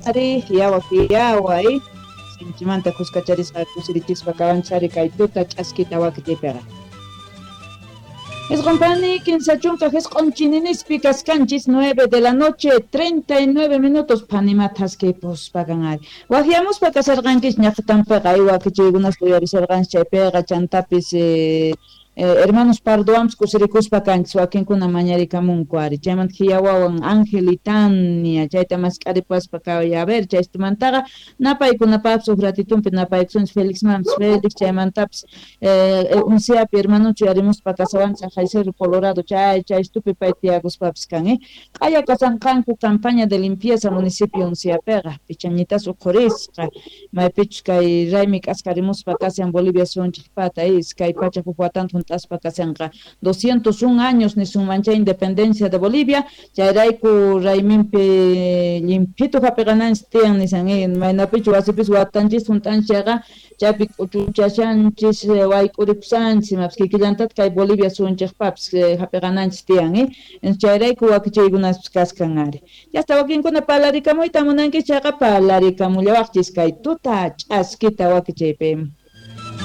Ari yawa yawa sinchimanta kuskacharisqa kusirichispa kawanchari kay tuta ch'askita wakichaypiqa. 9 pani 30 jisq'un chininispi kaskanchis, 9 de la noche 39 minutos. Phanima thaskipuspa kan ari. Waqyamuspa kasarqanchis ñaqtanpiqa ay wakichaykunas uyarisarqanchis chaypiqa chantapis hermanos Pardoams kusirikuspa kanchis, wakinkuna mañarikamunku ari. Chaymanta hiyawawan Ángel y Tania chayta mask'aripaspa kay, a ver, chaystumantaqa napaykunapaqpis huk ratitunpi napaykusunchis Felix Mampis Felix. Chaymantapis Unciapi hermanucho yarimuspa kasawanchis Jay Cerro Colorado chay chaystupi pay tiyakuspapis kan. Q'aya kasanqanku campaña de limpieza municipio Unciapiqa, pichañitas uqhurisqa maypichus kay raymi k'askarimuspa kashan Bolivia suyunchikpata 201 watanta hunt'aspa kashanqa, 201 años nisunman chay independencia de Bolivia. Chayrayku rayminpi llimphitu hapiqananchis tiyan nisan, maynapichu wasipis watanchis hunt'anchis chayqa chaypi k'uchuchashanchis, wayk'uripusanchis, imapis kikillantataq kay Bolivia suyunchikpapis hapiqananchis tiyan. Chayrayku wakichaykunaspis kaskan ari. Yasta wakinkuna parlarikamuyta munankichis chayqa parlarikamullawaqchis kay tuta ch'askita wakichaypi.